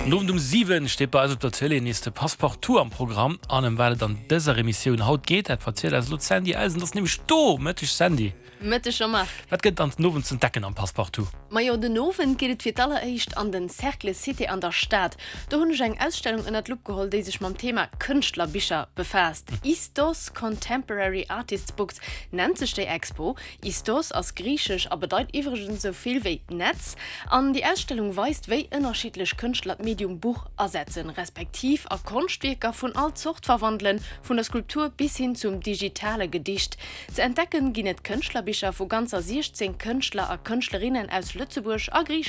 Den Owend um 7 steet bei eis op der Tëlee nees de Passepartout am Programm. An ëm wat et an dëser Emissioun haut geet, dat verzielt eis elo d'Sandy Elsen. Ass nämlech do. Mëtteg Sandy. Mëtteg Jean-Marc. Wat gëtt et dann den Owend z'entdecken am Passepartout? Majo, den Owend geet et fir d'alleréischt an den Cercle Cité an der Stad. Do hunn ech eng Ausstellung ënnert d'Lupp geholl, déi sech mam Thema Kënschtlerbicher befaasst. Istos Contemporary Artists Books nennt sech déi Expo. Istos ass griichesch a bedeit iwwregens esou vill wéi Netz. An déi Ausstellung weist, wéi ënnerschiddlech Kënschtler d'Medium Buch asetzen, respektiv a Konschtwierker vun all Zort verwandelen, vun der Skulptur bis hin zum digitale Gedicht. Ze entdecken ginn et Kënschtlerbicher vu ganzer 16 Kënschtler a Kënschtlerinnen aus Lëtzebuerg a Griicheland.